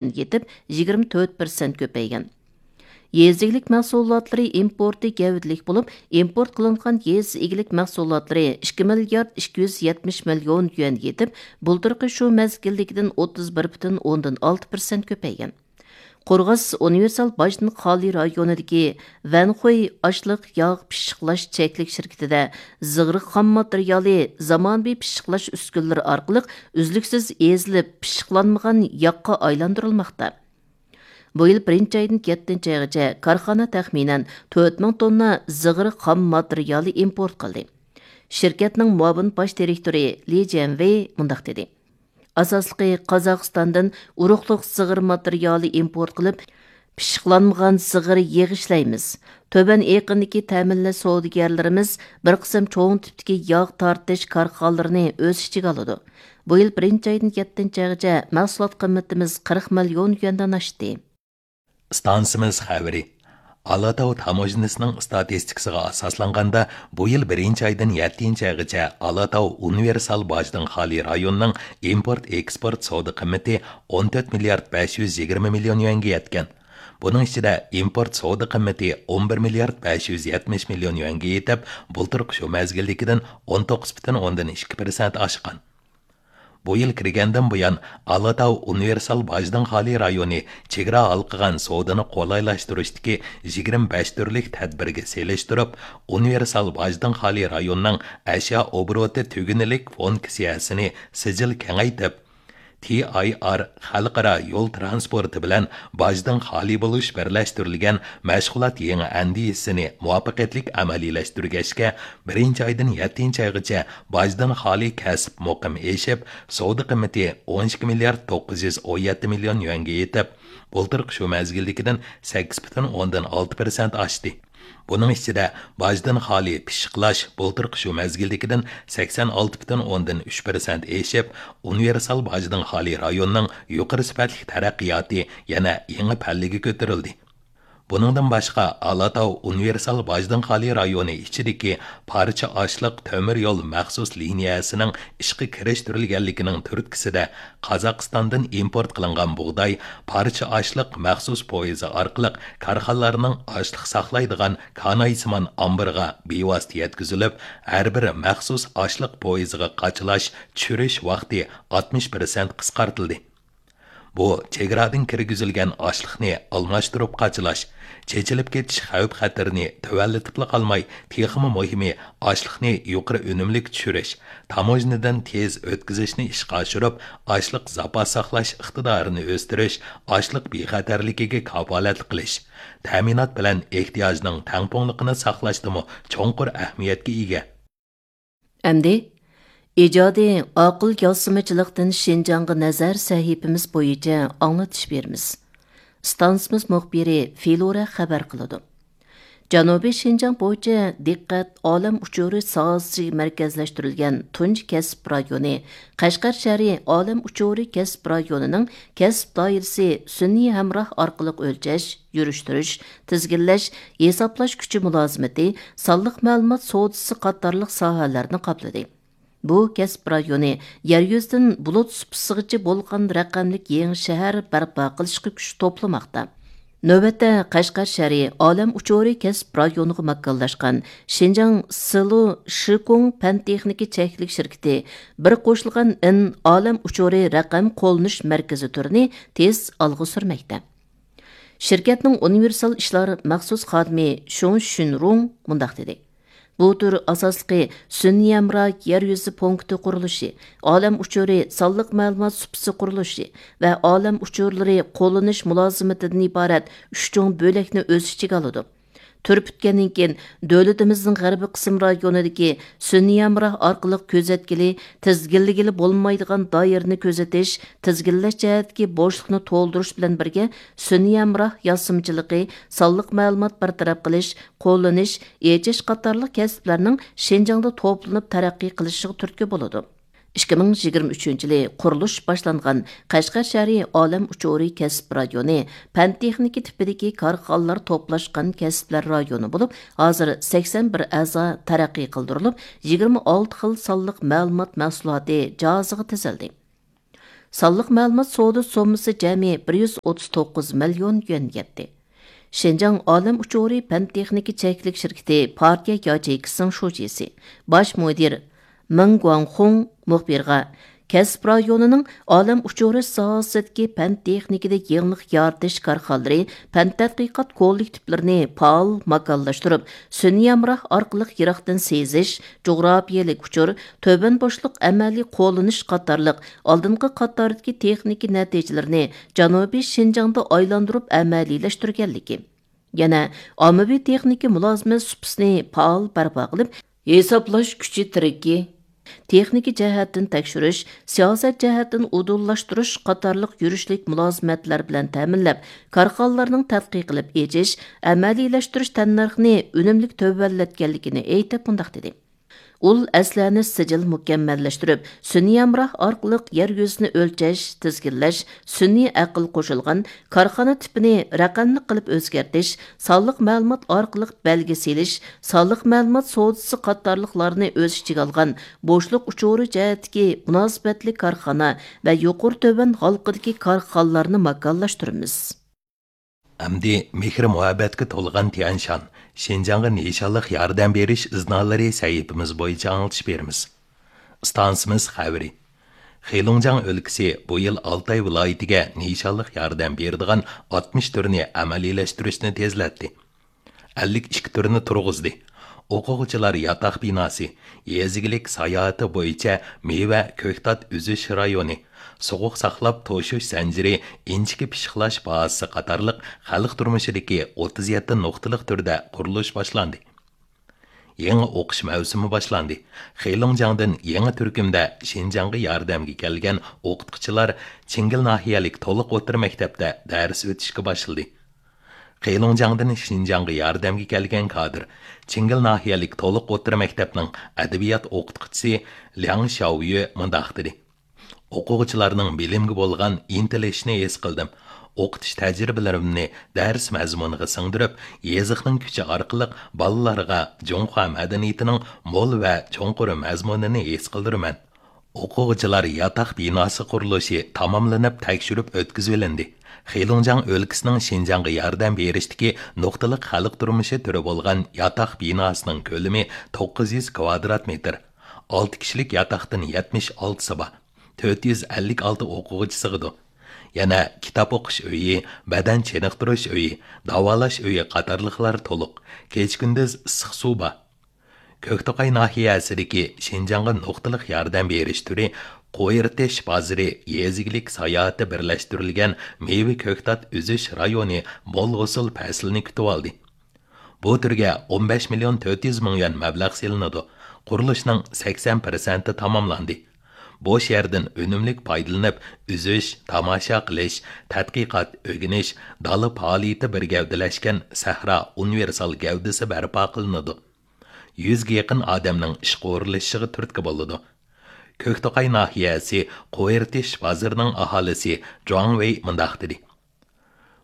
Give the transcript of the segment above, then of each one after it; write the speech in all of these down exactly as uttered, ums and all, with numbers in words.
يېتىپ، يىگىرمە تۆت پىرسەنت كۆپەيگەن. يېزا ئىگىلىك مەھسۇلاتلىرى ئىمپورتى گەۋدىلىك بولۇپ، ئىمپورت قىلىنغان يېزا ئىگىلىك مەھسۇلاتلىرى ئىككى مىليارد ئىككى يۈز يەتمىش مىليون يۈەن يېتىپ، بۇلتۇرقى شۇ مەزگىلدىكىدىن ئوتتۇز بىر پۈتۈن ئوندىن ئالتە پىرسەنت كۆپەيگەن. قورغاس ئۇنىۋېرسال باجدىن خالىي رايونىدىكى ۋەنخۇي ئاشلىق ياغ پىششىقلاش چەكلىك شىركىتىدە زىغىر خام ماتېرىيالى زامانىۋى پىششىقلاش ئۈسكۈنىلىرى ئارقىلىق ئۈزلۈكسىز ئېزىلىپ، پىششىقلانمىغان ياغقا ئايلاندۇرۇلماقتا. بۇ يىل بىرىنچى ئايدىن يەتتىنچى ئايغىچە كارخانا تەخمىنەن تۆت مىڭ توننا زىغىر خام ماتېرىيالى ئىمپورت قىلدى. شىركەتنىڭ مۇئاۋىن باش دىرېكتورى لى جيەنۋېي مۇنداق دېدى: ئاساسلىقى قازاقىستاندىن ئۇرۇقلۇق زىغىر ماتېرىيالى ئىمپورت قىلىپ، پىششىقلانمىغان زىغىر يېغى ئىشلەيمىز. تۆۋەن ئېقىندىكى تەمىنلەش سودىگەرلىرىمىز بىر قىسىم چوڭ تىپتىكى ياغ تارتىش كارخانىلىرىنى ئۆز ئىچىگە ئالىدۇ. بۇ يىل بىرىنچى ئايدىن يەتتىنچى ئايغىچە مەھسۇلات قىممىتىمىز قىرىق مىليون يۈەندىن ئاشتى. ئىستانسىمىز خەۋىرى. ئالاتاۋ تاموژنىسىنىڭ ئىستاتىستىكىسىغا ئاساسلانغاندا، بۇ يىل بىرىنچى ئايدىن يەتتىنچى ئايغىچە ئالاتاۋ ئۇنىۋېرسال باجدىن خالىي رايونىنىڭ ئىمپورت ئېكسپورت سودا قىممىتى ئون تۆت مىليارد بەش يۈز يىگىرمە مىليون يۈەنگە يەتكەن. بۇنىڭ ئىچىدە ئىمپورت سودا قىممىتى ئون بىر مىليارد بەش يۈز يەتمىش مىليون يۈەنگە يېتىپ، بۇلتۇرقى شۇ مەزگىلدىكىدىن ئون توققۇز پۈتۈن ئوندىن ئىككى پىرسەنت ئاشقان. بۇ يىل كىرگەندىن بۇيان، ئالاتاۋ ئۇنىۋېرسال باجدىن خالىي رايونى چېگرا ھالقىغان سودىنى قولايلاشتۇرۇشتىكى يىگىرمە بەش تۈرلۈك تەدبىرگە سېلىشتۇرۇپ، ئۇنىۋېرسال باجدىن خالىي رايوننىڭ ئەشيا ئوبوروتى تۈگۈنلۈك فوند كىسەسىنى سىجىل كېڭەيتىپ، تى ئاي ئار خەلقئارا يول تىرانسپورتى بىلەن باجدىن خالىي بولۇش بىرلەشتۈرۈلگەن مەشغۇلات يېڭى ئەندىزىسىنى مۇۋەپپەقىيەتلىك ئەمەلىيلەشتۈرگەچكە، بىرىنچى ئايدىن يەتتىنچى ئايغىچە باجدىن خالىي كەسىپ مۇقىم ئېشىپ، سودا قىممىتى ئون ئىككى مىليارد توققۇز يۈز ئون يەتتە مىليون يۈەنگە يېتىپ، بۇلتۇرقى شۇ مەزگىلدىكىدىن سەككىز پۈتۈن ئوندىن ئالتە پىرسەنت ئاشتى. بۇنىڭ ئىچىدە، باجدىن خالىي پىششىقلاش بۇلتۇرقى شۇ مەزگىلدىكىدىن سەكسەن ئالتە پۈتۈن ئوندىن ئۈچ پىرسەنت ئېشىپ، ئۇنىۋېرسال باجدىن خالىي رايوننىڭ يۇقىرى سۈپەتلىك تەرەققىياتى يەنە يېڭى پەللىگە كۆتۈرۈلدى. بۇنىڭدىن باشقا، ئالاتاۋ ئۇنىۋېرسال باجدىن خالىي رايونى ئىچىدىكى پارچە ئاشلىق تۆمۈر يول مەخسۇس لىنىيەسىنىڭ ئىشقا كىرىشتۈرۈلگەنلىكىنىڭ تۈرتكىسىدە، قازاقىستاندىن ئىمپورت قىلىنغان بۇغداي پارچە ئاشلىق مەخسۇس پويىزى ئارقىلىق كارخانىلارنىڭ ئاشلىق ساقلايدىغان كانايسىمان ئامبىرىغا بىۋاسىتە يەتكۈزۈلۈپ، ھەر بىر مەخسۇس ئاشلىق پويىزىغا قاچىلاش، چۈشۈرۈش ۋاقتى ئاتمىش پىرسەنت قىسقارتىلدى. بۇ چېگرادىن كىرگۈزۈلگەن ئاشلىقنى ئالماشتۇرۇپ قاچىلاش، چېچىلىپ كېتىش خەۋپ خەتىرىنى تۆۋەنلىتىپلا قالماي، تېخىمۇ مۇھىمى، ئاشلىقنى يۇقىرى ئۈنۈملۈك چۈشۈرۈش، تاموژنىدىن تېز ئۆتكۈزۈشنى ئىشقا ئاشۇرۇپ، ئاشلىق زاپاس ساقلاش ئىقتىدارىنى ئۆستۈرۈش، ئاشلىق بىخەتەرلىكىگە كاپالەتلىك قىلىش، تەمىنات بىلەن ئېھتىياجنىڭ تەڭپۇڭلۇقىنى ساقلاشتىمۇ چوڭقۇر ئەھمىيەتكە ئىگە. ئەمدى ئىجادىي ئاقىل ياسىمىچىلىقتىن شىنجاڭغا نەزەر سەھىپىمىز بويىچە ئاڭلىتىش بېرىمىز. ئىستانسىمىز مۇخبىرى فىلورا خەۋەر قىلىدۇ. جەنۇبىي شىنجاڭ بويىچە دىققەت ئالەم ئۇچۇرى ساھەسىگە مەركەزلەشتۈرۈلگەن تۇنجى كەسىپ رايونى، قەشقەر شەھىرى ئالەم ئۇچۇرى كەسىپ رايونىنىڭ كەسىپ دائىرىسى سۈنئىي ھەمراھ ئارقىلىق ئۆلچەش، يۈرۈشتۈرۈش، تىزگىنلەش، ھېسابلاش كۈچى مۇلازىمىتى، سانلىق مەلۇمات سودىسى قاتارلىق ساھەلەرنى قاپلىدى. بۇ كەسىپ رايونى يەر يۈزىدىن بۇلۇت سۇپىسىغىچە بولغان رەقەملىك يېڭى شەھەر بەرپا قىلىشقا كۈچ توپلىماقتا. نۆۋەتتە، قەشقەر شەھىرى ئالەم ئۇچۇرى كەسىپ رايونىغا ماكانلاشقان شىنجاڭ سىلۇ شىكۇڭ پەن تېخنىكا چەكلىك شىركىتى بىر قوشۇلغان ئىن ئالەم ئۇچۇرى رەقەم قوللىنىش مەركىزى تۈرىنى تېز ئالغا سۈرمەكتە. شىركەتنىڭ ئۇنىۋېرسال ئىشلار مەخسۇس خادىمى شۇڭ شۈنرۇڭ مۇنداق دېدى: بۇ تۈر ئاساسلىقى سۈنئىي ھەمراھ يەر يۈزى پونكىتى قۇرۇلۇشى، ئالەم ئۇچۇرى سانلىق مەلۇمات سۇپىسى قۇرۇلۇشى ۋە ئالەم ئۇچۇرلىرى قوللىنىش مۇلازىمىتىدىن ئىبارەت ئۈچ چوڭ بۆلەكنى ئۆز ئىچىگە ئالىدۇ. تۈر پۈتكەندىن كېيىن، دۆلىتىمىزنىڭ غەربىي قىسىم رايونىدىكى سۈنئىي ھەمراھ ئارقىلىق كۆزەتكىلى، تىزگىنلىگىلى بولمايدىغان دائىرىنى كۆزىتىش، تىزگىنلەش جەھەتتىكى بوشلۇقنى تولدۇرۇش بىلەن بىرگە، سۈنئىي ھەمراھ ياسىمىچىلىقى، سانلىق مەلۇمات بىر تەرەپ قىلىش، قوللىنىش، ئېچىش قاتارلىق كەسىپلەرنىڭ شىنجاڭدا توپلىنىپ تەرەققىي قىلىشىغا تۈرتكە بولىدۇ. ئىككى مىڭ يىگىرمە ئۈچىنچى يىلى قۇرۇلۇش باشلانغان قەشقەر شەھىرى ئالەم ئۇچۇرى كەسىپ رايونى پەن تېخنىكا تىپىدىكى كارخانىلار توپلاشقان كەسىپلەر رايونى بولۇپ، ھازىر سەكسەن بىر ئەزا تەرەققىي قىلدۇرۇلۇپ، يىگىرمە ئالتە خىل سانلىق مەلۇمات مەھسۇلاتى جاھازىغا تىزىلدى. سانلىق مەلۇمات سودا سوممىسى جەمئىي بىر يۈز ئوتتۇز توققۇز مىليون يۈەنگە يەتتى. شىنجاڭ ئالەم ئۇچۇرى پەن تېخنىكا چەكلىك شىركىتى پارتىيە ياچېيكىسىنىڭ شۇجىسى، باش مۇدىر مېڭ گۇاڭخۇڭ مۇخبىرغا، كەسىپ رايونىنىڭ ئالەم ئۇچۇرى ساھەسىدىكى پەن تېخنىكىدا يېڭىلىق يارىتىش كارخانىلىرى پەن تەتقىقات كوللېكتىپلىرىنى پائال ماكانلاشتۇرۇپ، سۈنئىي ھەمراھ ئارقىلىق يىراقتىن سېزىش، جۇغراپىيەلىك ئۇچۇر، تۆۋەن بوشلۇق ئەمەلىي قوللىنىش قاتارلىق ئالدىنقى قاتاردىكى تېخنىكا نەتىجىلىرىنى جەنۇبىي شىنجاڭدا ئايلاندۇرۇپ ئەمەلىيلەشتۈرگەنلىكى، يەنە ئاممىۋى تېخنىكا مۇلازىمەت سۇپىسىنى پائال بەرپا قىلىپ، ھېسابلاش كۈچى تىرىكى، تېخنىكا جەھەتتىن تەكشۈرۈش، سىياسەت جەھەتتىن ئۇدۇللاشتۇرۇش قاتارلىق يۈرۈشلۈك مۇلازىمەتلەر بىلەن تەمىنلەپ، كارخانىلارنىڭ تەتقىق قىلىپ ئېچىش، ئەمەلىيلەشتۈرۈش تەننەرخىنى ئۈنۈملۈك تۆۋەنلەتكەنلىكىنى ئېيتىپ مۇنداق دېدى. ئۇل ئەسلىھەنى سىجىل مۇكەممەللەشتۈرۈپ، سۈنئىي ھەمراھ ئارقىلىق يەر يۈزىنى ئۆلچەش، تىزگىنلەش، سۈنئىي ئەقىل قوشۇلغان كارخانا تىپىنى رەقەملىك قىلىپ ئۆزگەرتىش، سانلىق مەلۇمات ئارقىلىق بەلگە سېلىش، سانلىق مەلۇمات سودىسى قاتارلىقلارنى ئۆز ئىچىگە ئالغان بوشلۇق ئۇچۇرى جەھەتتىكى مۇناسىۋەتلىك كارخانا ۋە يۇقىرى تۆۋەن ھالقىدىكى كارخانىلارنى ماكانلاشتۇرىمىز. ئەمدى مېھرى مۇھەببەتكە تولغان تيەنشان، شىنجاڭغا نىشانلىق ياردەم بېرىش ئىزنالىرى سەھىپىمىز بويىچە ئاڭلىتىش بېرىمىز. ئىستانسىمىز خەۋىرى. خېلۇڭجياڭ ئۆلكىسى بۇ يىل ئالتاي ۋىلايىتىگە نىشانلىق ياردەم بېرىدىغان ئاتمىش تۈرنى ئەمەلىيلەشتۈرۈشنى تېزلەتتى. ئەللىك ئىككى تۈرنى تۇرغۇزدى. ئوقۇغۇچىلار ياتاق بىناسى، يېزا ئىگىلىك ساياھىتى بويىچە مېۋە، كۆكتات ئۈزۈش رايونى، سوغۇق ساقلاپ توشۇش زەنجىرى، ئىنچىكە پىششىقلاش بازىسى قاتارلىق خەلق تۇرمۇشىدىكى ئوتتۇز يەتتە نۇقتىلىق تۈردە قۇرۇلۇش باشلاندى. يېڭى ئوقۇش مەۋسۇمى باشلاندى. خېلۇڭجياڭدىن يېڭى تۈركۈمدە شىنجاڭغا ياردەمگە كەلگەن ئوقۇتقۇچىلار چىڭگىل ناھىيەلىك تولۇق ئوتتۇرا مەكتەپتە دەرس ئۆتۈشكە باشلىدى. خېلۇڭجياڭدىن شىنجاڭغا ياردەمگە كەلگەن كادىر چىڭگىل ناھىيەلىك تولۇق ئوتتۇرا مەكتەپنىڭ ئەدەبىيات ئوقۇتقۇچىسى لياڭ شياۋيۈ مۇنداق دېدى: ئوقۇغۇچىلارنىڭ بىلىمگە بولغان ئىنتىلىشىنى ھېس قىلدىم. ئوقۇتۇش تەجرىبىلىرىمنى دەرس مەزمۇنىغا سىڭدۈرۈپ، يېزىقنىڭ كۈچى ئارقىلىق بالىلارغا جۇڭخۇا مەدەنىيىتىنىڭ مول ۋە چوڭقۇر مەزمۇنىنى ھېس قىلدۇرىمەن. ئوقۇغۇچىلار ياتاق بىناسى قۇرۇلۇشى تاماملىنىپ تەكشۈرۈپ ئۆتكۈزۈۋېلىندى. خېلۇڭجياڭ ئۆلكىسىنىڭ شىنجاڭغا ياردەم بېرىشتىكى نۇقتىلىق خەلق تۇرمۇشى تۈرى بولغان ياتاق بىناسىنىڭ كۆلىمى توققۇز يۈز كۋادرات مېتىر. ئالتە كىشىلىك ياتاقتىن يەتمىش ئالتىسى بار. تۆت يۈز ئەللىك ئالتە ئوقۇغۇچى سىغىدۇ. يەنە كىتاب ئوقۇش ئۆيى، بەدەن چېنىقتۇرۇش ئۆيى، داۋالاش ئۆيى قاتارلىقلار تولۇق. كېچە-كۈندۈز ئىسسىق سۇ بار. كۆكتوقاي ناھىيەسىدىكى شىنجاڭغا نۇقتىلىق ياردەم بېرىش تۈرى قويۇرتېش بازىرى يېزا ئىگىلىك ساياھىتى بىرلەشتۈرۈلگەن مېۋە كۆكتات ئۈزۈش رايونى مول ھوسۇل پەسلىنى كۈتۈۋالدى. بۇ تۈرگە ئون بەش مىليون تۆت يۈز مىڭ يۈەن مەبلەغ سېلىنىدۇ. قۇرۇلۇشنىڭ سەكسەن پىرسەنتى تاماملاندى. بوش يەردىن ئۈنۈملۈك پايدىلىنىپ، ئۈزۈش، تاماشا قىلىش، تەتقىقات، ئۆگىنىش، دالا پائالىيىتى بىر گەۋدىلەشكەن سەھرا ئۇنىۋېرسال گەۋدىسى بەرپا قىلىنىدۇ. يۈزگە يېقىن ئادەمنىڭ ئىشقا ئورۇنلىشىشىغا تۈرتكە بولىدۇ. كۆكتوقاي ناھىيەسى قويۇرتېش بازىرىنىڭ ئاھالىسى جۇاڭ ۋېي مۇنداق دېدى: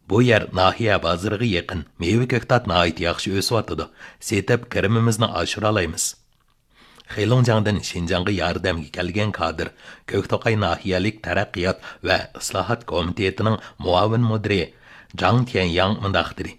بۇ يەر ناھىيە بازىرىغا يېقىن، مېۋە كۆكتات ناھايىتى ياخشى ئۆسۈۋاتىدۇ، سېتىپ كىرىمىمىزنى ئاشۇرالايمىز. خېلۇڭجياڭدىن شىنجاڭغا ياردەمگە كەلگەن كادىر، كۆكتوقاي ناھىيەلىك تەرەققىيات ۋە ئىسلاھات كومىتېتىنىڭ مۇئاۋىن مۇدىرى جاڭ تيەنياڭ مۇنداق دېدى: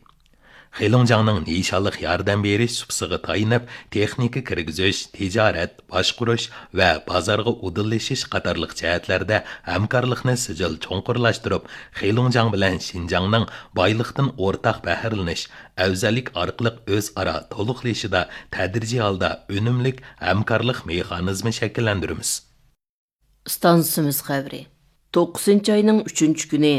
خېلۇڭجياڭنىڭ نىشانلىق ياردەم بېرىش سۇپىسىغا تايىنىپ، تېخنىكا كىرگۈزۈش، تىجارەت، باشقۇرۇش ۋە بازارغا ئۇدۇللىشىش قاتارلىق جەھەتلەردە ھەمكارلىقنى سىجىل چوڭقۇرلاشتۇرۇپ، خېلۇڭجياڭ بىلەن شىنجاڭنىڭ بايلىقتىن ئورتاق بەھرىلىنىش، ئەۋزەللىك ئارقىلىق ئۆزئارا تولۇقلىشىشىدا تەدرىجىي ھالدا ئۈنۈملۈك ھەمكارلىق مېخانىزمى شەكىللەندۈرىمىز. ئىستانسىمىز خەۋىرى. توققۇزىنچى ئاينىڭ ئۈچىنچى كۈنى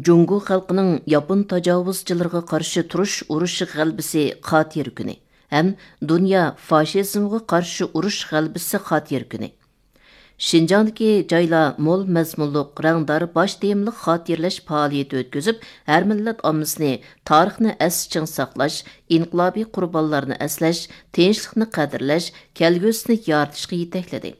جۇڭگو خەلقىنىڭ ياپون تاجاۋۇزچىلىرىغا قارشى تۇرۇش ئۇرۇشى غەلىبىسى خاتىرە كۈنى ھەم دۇنيا فاشىزمغا قارشى ئۇرۇش غەلىبىسى خاتىرە كۈنى. شىنجاڭدىكى جايلار مول مەزمۇنلۇق، رەڭدار باش تېمىلىق خاتىرىلەش پائالىيىتى ئۆتكۈزۈپ، ھەر مىللەت ئاممىسىنى تارىخنى ئەستە چىڭ ساقلاش، ئىنقىلابىي قۇربانلارنى ئەسلەش، تىنچلىقنى قەدىرلەش، كەلگۈسىنى يارىتىشقا يېتەكلىدى.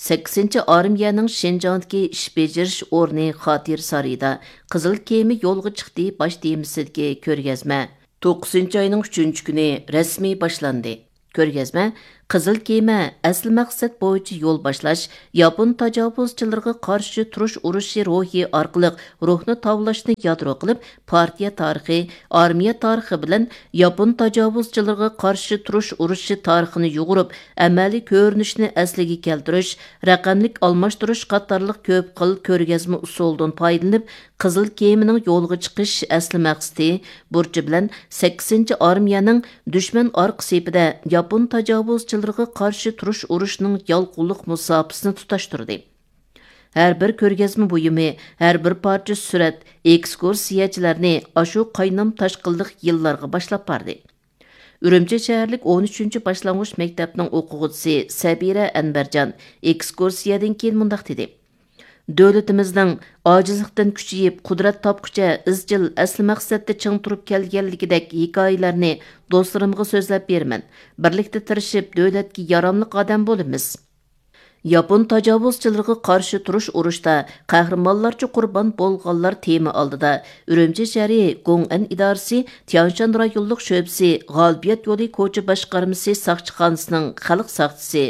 سەككىزىنچى ئارمىيەنىڭ شىنجاڭدىكى ئىش بېجىرىش ئورنى خاتىرە سارىيىدا قىزىل كېمە يولغا چىقتى باش تېمىسىدىكى كۆرگەزمە توققۇزىنچى ئاينىڭ ئۈچىنچى كۈنى رەسمىي باشلاندى. كۆرگەزمە قىزىل كېمە ئەسلى مەقسەت بويىچە يول باشلاش، ياپون تاجاۋۇزچىلىرىغا قارشى تۇرۇش ئۇرۇشى روھى ئارقىلىق روھنى تاۋلاشنى يادرو قىلىپ، پارتىيە تارىخى، ئارمىيە تارىخى بىلەن ياپون تاجاۋۇزچىلىرىغا قارشى تۇرۇش ئۇرۇشى تارىخىنى يۇغۇرۇپ، ئەمەلىي كۆرۈنۈشنى ئەسلىگە كەلتۈرۈش، رەقەملىك ئالماشتۇرۇش قاتارلىق كۆپ خىل كۆرگەزمە ئۇسۇلىدىن پايدىلىنىپ، قىزىل كېمىنىڭ يولغا چىقىش ئەسلى مەقسىتى، بۇرچى بىلەن سەككىزىنچى ئارمىيەنىڭ دۈشمەن ئارقا سېپىدە ياپون تاجاۋۇزچىلىرىغا قارشى تۇرۇش ئۇرۇشىنىڭ يالقۇنلۇق مۇساپىسىنى تۇتاشتۇردى. ھەر بىر كۆرگەزمە بۇيۇمى، ھەر بىر پارچە سۈرەت ئېكسكۇرسىيەچىلەرنى ئاشۇ قاينام تاشقىنلىق يىللارغا باشلاپ باردى. ئۈرۈمچى شەھەرلىك ئون ئۈچىنچى باشلانغۇچ مەكتەپنىڭ ئوقۇغۇچىسى سەبىرە ئەنۋەرجان ئېكسكۇرسىيەدىن كېيىن مۇنداق دېدى: دۆلىتىمىزنىڭ ئاجىزلىقتىن كۈچىيىپ، قۇدرەت تاپقۇچە ئىزچىل ئەسلى مەقسەتتە چىڭ تۇرۇپ كەلگەنلىكىدەك ھېكايىلەرنى دوستلىرىمغا سۆزلەپ بېرىمەن. بىرلىكتە تىرىشىپ، دۆلەتكە ياراملىق ئادەم بولىمىز. ياپون تاجاۋۇزچىلىرىغا قارشى تۇرۇش ئۇرۇشتا قەھرىمانلارچە قۇربان بولغانلار تېما ئالدىدا ئۈرۈمچى شەھىرى گوڭئەن ئىدارىسى تيانشان رايونلۇق شۆبىسى غالىبىيەت يولى كوچا باشقارمىسى ساقچىخانىسىنىڭ خەلق ساقچىسى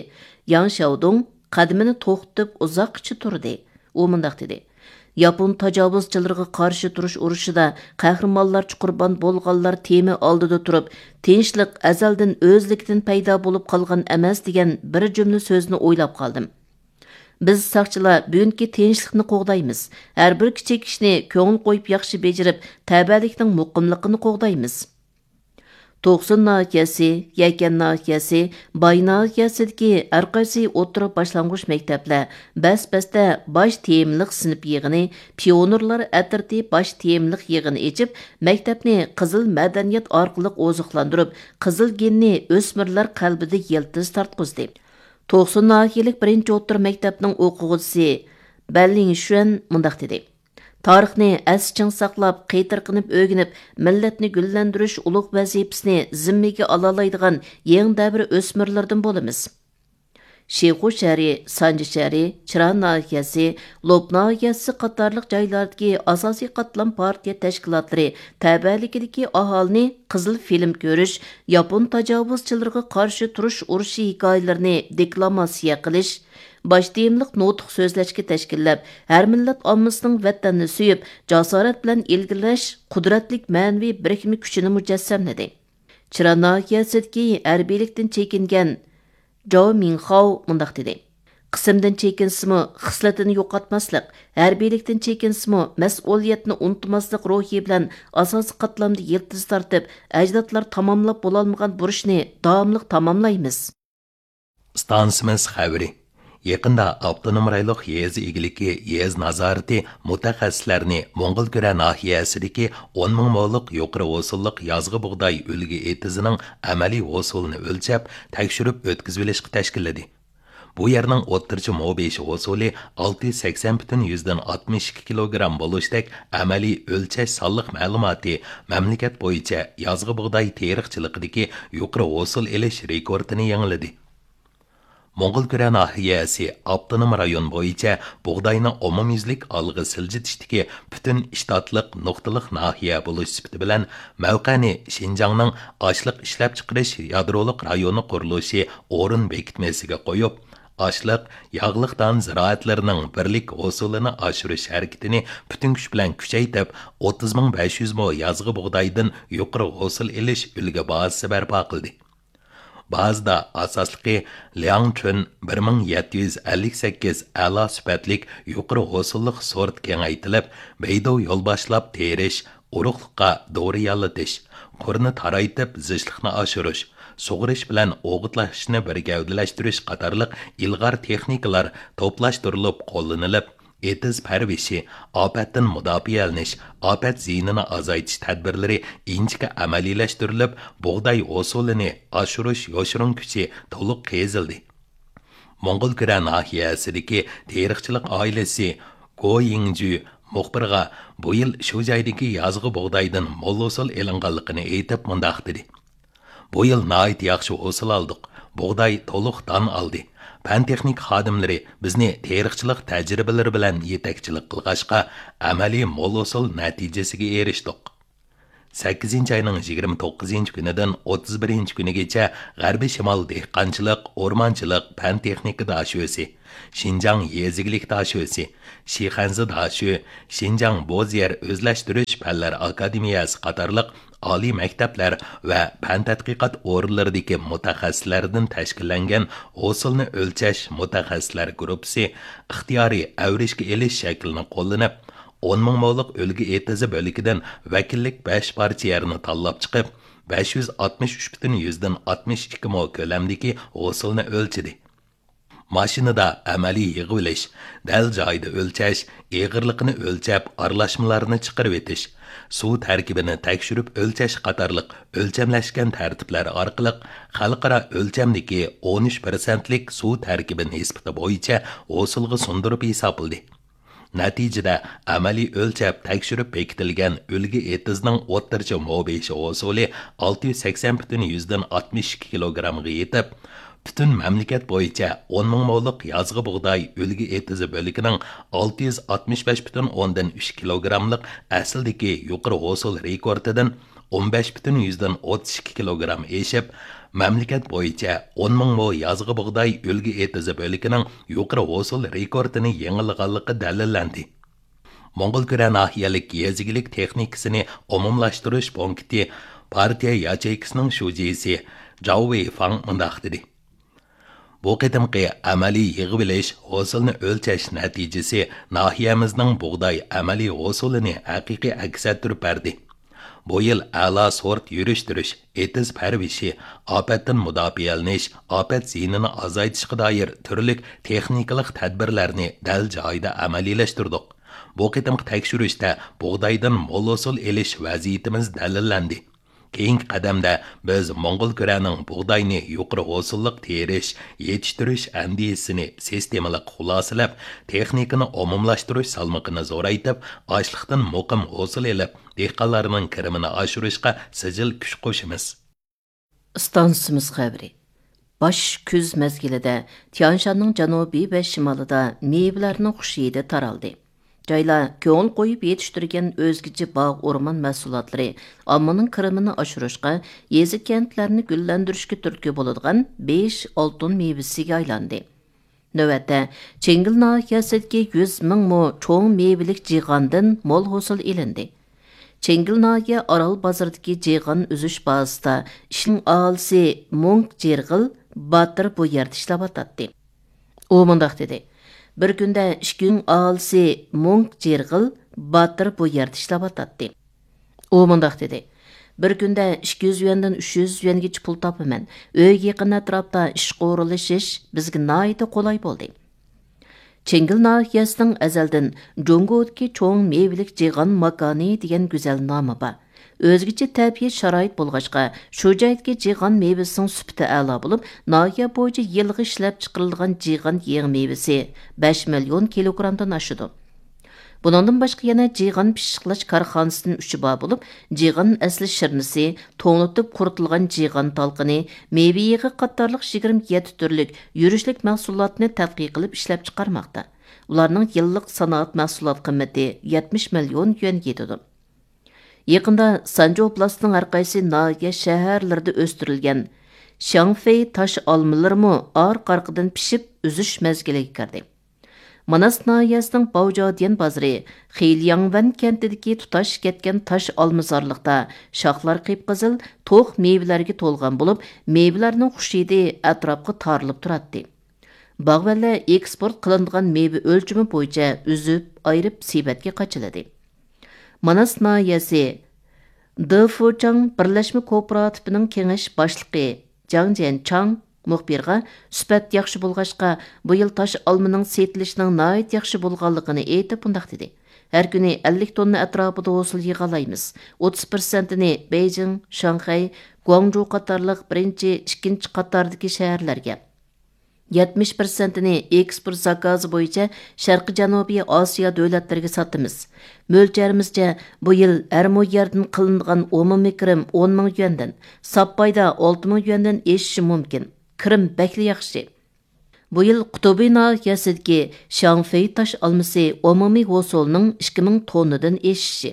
ياڭ شياۋدۇڭ قەدىمىنى توختىتىپ ئۇزاققىچە تۇردى. ئۇ مۇنداق دېدى: ياپون تاجاۋۇزچىلىرىغا قارشى تۇرۇش ئۇرۇشىدا قەھرىمانلارچە قۇربان بولغانلار تېما ئالدىدا تۇرۇپ، تىنچلىق ئەزەلدىن ئۆزلۈكىدىن پەيدا بولۇپ قالغان ئەمەس دېگەن بىر جۈملە سۆزنى ئويلاپ قالدىم. بىز ساقچىلار بۈگۈنكى تىنچلىقنى قوغدايمىز. ھەر بىر كىچىك ئىشنى كۆڭۈل قويۇپ ياخشى بېجىرىپ، تەۋەلىكنىڭ مۇقىملىقىنى قوغدايمىز. توقسۇن ناھىيەسى، يەكەن ناھىيەسى، باي ناھىيەسىدىكى ھەرقايسى ئوتتۇرا باشلانغۇچ مەكتەپلەر بەس-بەستە باش تېمىلىق سىنىپ يىغىنى، پىيونېرلار ئەترىتى باش تېمىلىق يىغىنى ئېچىپ، مەكتەپنى قىزىل مەدەنىيەت ئارقىلىق ئوزۇقلاندۇرۇپ، قىزىل گېننى ئۆسمۈرلەر قەلبىدە يىلتىز تارتقۇزدى. توقسۇن ناھىيەلىك بىرىنچى ئوتتۇرا مەكتەپنىڭ ئوقۇغۇچىسى بەنلىڭ شۈەن مۇنداق دېدى: تارىخنى ئەستە چىڭ ساقلاپ، قېتىرقىنىپ ئۆگىنىپ، مىللەتنى گۈللەندۈرۈش ئۇلۇغ ۋەزىپىسىنى زىممىگە ئالالايدىغان يېڭى دەۋر ئۆسمۈرلىرىدىن بولىمىز. شىخۇ شەھىرى، سانجى شەھىرى، چىرا ناھىيەسى، لوپ ناھىيەسى قاتارلىق جايلاردىكى ئاساسىي قاتلام پارتىيە تەشكىلاتلىرى تەۋەلىكىدىكى ئاھالىنى قىزىل فىلىم كۆرۈش، ياپون تاجاۋۇزچىلىرىغا قارشى تۇرۇش ئۇرۇشى ھېكايىلىرىنى دېكلاماتسىيە قىلىش، باش تېمىلىق نۇتۇق سۆزلەشكە تەشكىللەپ، ھەر مىللەت ئاممىسىنىڭ ۋەتەننى سۆيۈپ، جاسارەت بىلەن ئىلگىرىلەش، قۇدرەتلىك مەنىۋى بىرىكمە كۈچىنى مۇجەسسەملىدى. چىرا ناھىيەسىدىكى ھەربىيلىكتىن چېكىنگەن جاۋ مىڭخاۋ مۇنداق دېدى: قىسىمدىن چېكىنسىمۇ، خىسلىتىنى يوقاتماسلىق، ھەربىيلىكتىن چېكىنسىمۇ، مەسئۇلىيەتنى ئۇنتۇماسلىق روھى بىلەن ئاساسىي قاتلامدا يىلتىز تارتىپ، ئەجدادلار تاماملاپ بولالمىغان بۇرچنى داۋاملىق تاماملايمىز. ئىستانسىمىز خەۋىرى. يېقىندا ئاپتونوم رايونلۇق يېزا ئىگىلىكى يېزا نازارىتى مۇتەخەسسىسلەرنى موڭغۇلكۈرە ناھىيەسىدىكى ئون مىڭ مولۇق يۇقىرى ھوسۇللۇق يازغى بۇغداي ئۈلگە ئېتىزىنىڭ ئەمەلىي ھوسۇلىنى ئۆلچەپ، تەكشۈرۈپ ئۆتكۈزۈۋېلىشقا تەشكىللىدى. بۇ يەرنىڭ ئوتتۇرىچە مو بېشى ھوسۇلى ئالتە يۈز سەكسەن پۈتۈن يۈزدىن ئاتمىش ئىككى كىلوگرام بولۇشتەك ئەمەلىي ئۆلچەش سانلىق مەلۇماتى مەملىكەت بويىچە يازغى بۇغداي تېرىقچىلىقىدىكى يۇقىرى ھوسۇل ئېلىش رېكورتىنى يېڭىلىدى. موڭغۇلكۈرە ناھىيەسى ئاپتونوم رايون بويىچە بۇغداينى ئومۇميۈزلۈك ئالغا سىلجىتىشتىكى پۈتۈن شتاتلىق نۇقتىلىق ناھىيە بولۇش سۈپىتى بىلەن، مەۋقەنى شىنجاڭنىڭ ئاشلىق ئىشلەپچىقىرىش يادرولۇق رايونى قۇرۇلۇشى ئورۇن بېكىتمىسىگە قويۇپ، ئاشلىق، ياغلىق دان زىرائەتلىرىنىڭ بىرلىك ھوسۇلىنى ئاشۇرۇش ھەرىكىتىنى پۈتۈن كۈچ بىلەن كۈچەيتىپ، ئوتتۇز مىڭ بەش يۈز مو يازغى بۇغدايدىن يۇقىرى ھوسۇل ئېلىش ئۈلگە بازىسى بەرپا قىلدى. بازىدا ئاساسلىقى لياڭچۈن بىر مىڭ يەتتە يۈز ئەللىك سەككىز ئەلا سۈپەتلىك يۇقىرى ھوسۇللۇق سورت كېڭەيتىلىپ، بەيدۇ يول باشلاپ تېرىش، ئورۇقلۇققا دورا ياللىتىش، قۇرنى تارايتىپ زىچلىقنى ئاشۇرۇش، سۇغىرىش بىلەن ئوغۇتلاشنى بىر گەۋدىلەشتۈرۈش قاتارلىق ئىلغار تېخنىكىلار توپلاشتۇرۇلۇپ قوللىنىلىپ، ئېتىز پەرۋىشى، ئاپەتتىن مۇداپىئەلىنىش، ئاپەت زىيىنىنى ئازايتىش تەدبىرلىرى ئىنچىكە ئەمەلىيلەشتۈرۈلۈپ، بۇغداي ھوسۇلىنى ئاشۇرۇش يوشۇرۇن كۈچى تولۇق قېزىلدى. موڭغۇلكۈرە ناھىيەسىدىكى تېرىقچىلىق ئائىلىسى گو يىڭجۈ مۇخبىرغا بۇ يىل شۇ جايدىكى يازغى بۇغدايدىن مول ھوسۇل ئېلىنغانلىقىنى ئېيتىپ مۇنداق دېدى: بۇ يىل ناھايىتى ياخشى ھوسۇل ئالدۇق. بۇغداي تولۇق دان ئالدى. پەن تېخنىكا خادىملىرى بىزنى تېرىقچىلىق تەجرىبىلىرى بىلەن يېتەكچىلىك قىلغاچقا، ئەمەلىي مول ھوسۇل نەتىجىسىگە ئېرىشتۇق. سەككىزىنچى ئاينىڭ يىگىرمە توققۇزىنچى كۈنىدىن ئوتتۇز بىرىنچى كۈنىگىچە غەربىي شىمال دېھقانچىلىق، ئورمانچىلىق پەن تېخنىكا داشۆسى، شىنجاڭ يېزا ئىگىلىك داشۆسى، شىخەنزە داشۆ، شىنجاڭ بوز يەر ئۆزلەشتۈرۈش پەنلەر ئاكادېمىيەسى قاتارلىق ئالىي مەكتەپلەر ۋە پەن تەتقىقات ئورۇنلىرىدىكى مۇتەخەسسىسلەردىن تەشكىللەنگەن ھوسۇلنى ئۆلچەش مۇتەخەسسىسلەر گۇرۇپپىسى ئىختىيارىي ئەۋرىشكە ئېلىش شەكلىنى قوللىنىپ، ئون مىڭ مولۇق ئۈلگە ئېتىزى بۆلىكىدىن ۋەكىللىك بەش پارچە يەرنى تاللاپ چىقىپ، بەش يۈز ئاتمىش ئۈچ پۈتۈن يۈزدىن ئاتمىش ئىككى مو كۆلەمدىكى ھوسۇلنى ئۆلچىدى. ماشىنىدا ئەمەلىي يىغىۋېلىش، دەل جايىدا ئۆلچەش، ئېغىرلىقىنى ئۆلچەپ، ئارىلاشمىلارنى چىقىرىۋېتىش، سۇ تەركىبىنى تەكشۈرۈپ ئۆلچەش قاتارلىق ئۆلچەملەشكەن تەرتىپلەر ئارقىلىق خەلقئارا ئۆلچەمدىكى ئون ئۈچ پىرسەنتلىك سۇ تەركىبى نىسبىتى بويىچە ھوسۇلغا سۇندۇرۇپ ھېسابلىدى. نەتىجىدە، ئەمەلىي ئۆلچەپ تەكشۈرۈپ بېكىتىلگەن ئۈلگە ئېتىزنىڭ ئوتتۇرىچە مو بېشى ھوسۇلى ئالتە يۈز سەكسەن پۈتۈن يۈزدىن ئاتمىش ئىككى كىلوگرامغا يېتىپ، پۈتۈن مەملىكەت بويىچە ئون مىڭ مولۇق يازغى بۇغداي ئۈلگە ئېتىزى بۆلىكىنىڭ ئالتە يۈز ئاتمىش بەش پۈتۈن ئوندىن ئۈچ كىلوگراملىق ئەسلىدىكى يۇقىرى ھوسۇل رېكورتىدىن ئون بەش پۈتۈن يۈزدىن ئوتتۇز ئىككى كىلوگرام ئېشىپ، مەملىكەت بويىچە ئون مىڭ مو يازغى بۇغداي ئۈلگە ئېتىزى بۆلىكىنىڭ يۇقىرى ھوسۇل رېكورتىنى يېڭىلىغانلىقى دەلىللەندى. موڭغۇلكۈرە ناھىيەلىك يېزا ئىگىلىك تېخنىكىسىنى ئومۇملاشتۇرۇش پونكىتى پارتىيە ياچېيكىسىنىڭ شۇجىسى جاۋ ۋېيفاڭ مۇنداق دېدى: بۇ قېتىمقى ئەمەلىي يىغىۋېلىش، ھوسۇلنى ئۆلچەش نەتىجىسى ناھىيەمىزنىڭ بۇغداي ئەمەلىي ھوسۇلىنى ھەقىقىي ئەكس ئەتتۈرۈپ بەردى. بۇ يىل ئەلا سورت يۈرۈشتۈرۈش، ئېتىز پەرۋىشى، ئاپەتتىن مۇداپىئەلىنىش، ئاپەت زىيىنىنى ئازايتىشقا دائىر تۈرلۈك تېخنىكىلىق تەدبىرلەرنى دەل جايىدا ئەمەلىيلەشتۈردۇق. بۇ قېتىمقى تەكشۈرۈشتە بۇغدايدىن مول ھوسۇل ئېلىش ۋەزىيىتىمىز دەلىللەندى. كېيىنكى قەدەمدە بىز موڭغۇلكۈرەنىڭ بۇغداينى يۇقىرى ھوسۇللۇق تېرىش، يېتىشتۈرۈش ئەندىزىسىنى سىستېمىلىق خۇلاسىلەپ، تېخنىكىنى ئومۇملاشتۇرۇش سالمىقىنى زورايتىپ، ئاشلىقتىن مۇقىم ھوسۇل ئېلىپ، دېھقانلارنىڭ كىرىمىنى ئاشۇرۇشقا سىجىل كۈچ قوشىمىز. ئىستانسىمىز خەۋىرى. باش كۈز مەزگىلىدە تيانشاننىڭ جەنۇبى ۋە شىمالىدا مېۋىلەرنىڭ خۇش ھىدى تارالدى. جايلار كۆڭۈل قويۇپ يېتىشتۈرگەن ئۆزگىچە باغ، ئورمان مەھسۇلاتلىرى ئاممىنىڭ كىرىمىنى ئاشۇرۇشقا، يېزا، كەنتلەرنى گۈللەندۈرۈشكە تۈرتكە بولىدىغان بېش ئالتۇن مېۋىسىگە ئايلاندى. نۆۋەتتە، چىڭگىل ناھىيەسىدىكى يۈز مىڭ مو چوڭ مېۋىلىك جىغاندىن مول ھوسۇل ئېلىندى. چىڭگىل ناھىيە ئارال بازىرىدىكى جىغان ئۈزۈش بازىسىدا ئىشنىڭ ئاھالىسى مۇڭ جىرغىل باتىر بۇ يەردە ئىشلەۋاتاتتى. ئۇ مۇنداق دېدى: بىر كۈندە ئىككى يۈز ئاھالىسى مۇڭ جىرغىل باتىر بۇ يەردە ئىشلەۋاتاتتى. ئۇ مۇنداق دېدى: بىر كۈندە ئىككى يۈز يۈەندىن ئۈچ يۈز يۈەنگىچە پۇل تاپىمەن. ئۆيگە يېقىن ئەتراپتا ئىشقا ئورۇنلىشىش بىزگە ناھايىتى قولاي بولدى. چىڭگىل ناھىيەسىنىڭ ئەزەلدىن جۇڭگودىكى چوڭ مېۋىلىك جىغان ماكانى دېگەن گۈزەل نامى بار. ئۆزگىچە تەبىئىي شارائىت بولغاچقا، شۇ جايدىكى جىغان مېۋىسىنىڭ سۈپىتى ئەلا بولۇپ، ناھىيە بويىچە يىلغا ئىشلەپچىقىرىلىدىغان جىغان يېڭى مېۋىسى بەش مىليون كىلوگرامدىن ئاشىدۇ. بۇنىڭدىن باشقا يەنە جىغان پىششىقلاش كارخانىسىدىن ئۈچى بار بولۇپ، جىغان ئەسلى شىرنىسى، توڭلىتىپ قۇرۇتۇلغان جىغان تالقىنى، مېۋە يېغى قاتارلىق يىگىرمە يەتتە تۈرلۈك يۈرۈشلۈك مەھسۇلاتنى تەتقىق قىلىپ ئىشلەپچىقارماقتا. ئۇلارنىڭ يىللىق سانائەت مەھسۇلات قىممىتى يەتمىش مىليون يۈەنگە يېتىدۇ. يېقىندا سانجى ئوبلاستىنىڭ ھەرقايسى ناھىيە، شەھەرلىرىدە ئۆستۈرۈلگەن شياڭفېي تاش ئالمىلىرىمۇ ئارقا-ئارقىدىن پىشىپ، ئۈزۈش مەزگىلىگە كىردى. ماناس ناھىيەسىنىڭ باۋجاديەن بازىرى خىلياڭۋەن كەنتىدىكى تۇتاش كەتكەن تاش ئالمىزارلىقتا شاخلار قىپقىزىل، توق مېۋىلەرگە تولغان بولۇپ، مېۋىلەرنىڭ خۇش ھىدى ئەتراپقا تارىلىپ تۇراتتى. باغۋەنلەر ئېكسپورت قىلىنىدىغان مېۋە ئۆلچىمى بويىچە ئۈزۈپ، ئايرىپ، سېۋەتكە قاچىلىدى. ماناس ناھىيەسى دېفۇچاڭ بىرلەشمە كوپىراتىپىنىڭ كېڭەش باشلىقى جاڭ جيەنچاڭ مۇخبىرغا، سۈپەت ياخشى بولغاچقا، بۇ يىل تاش ئالمىنىڭ سېتىلىشىنىڭ ناھايىتى ياخشى بولغانلىقىنى ئېيتىپ، مۇنداق دېدى: ھەر كۈنى ئەللىك توننا ئەتراپىدا ھوسۇل يىغالايمىز. ئوتتۇز پىرسەنتىنى بېيجىڭ، شاڭخەي، گۇاڭجۇ قاتارلىق بىرىنچى، ئىككىنچى قاتاردىكى شەھەرلەرگە، يەتمىش پىرسەنتىنى ئېكسپورت زاكازى بويىچە شەرقىي جەنۇبىي ئاسىيا دۆلەتلىرىگە ساتىمىز. مۆلچەرىمىزچە، بۇ يىل ھەر مو يەردىن قىلىنىدىغان ئومۇمىي كىرىم ئون مىڭ يۈەندىن، ساپپايدا ئالتە مىڭ يۈەندىن ئېشىشى مۇمكىن. كىرىم بەكلا ياخشى. بۇ يىل قۇتۇبى ناھىيەسىدىكى شياڭفېي تاش ئالمىسى ئومۇمىي ھوسۇلنىڭ ئىككى مىڭ توننىدىن ئېشىشى،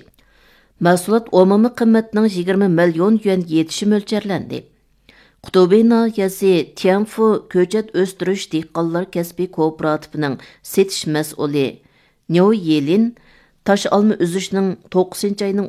مەھسۇلات ئومۇمىي قىممىتىنىڭ يىگىرمە مىليون يۈەنگە يېتىشى مۆلچەرلەندى. قۇتۇبى ناھىيەسى تيەنفۇ كۆچەت ئۆستۈرۈش دېھقانلار كەسپىي كوپىراتىپىنىڭ سېتىش مەسئۇلى نيو يېلىن تاش ئالما ئۈزۈشنىڭ توققۇزىنچى ئاينىڭ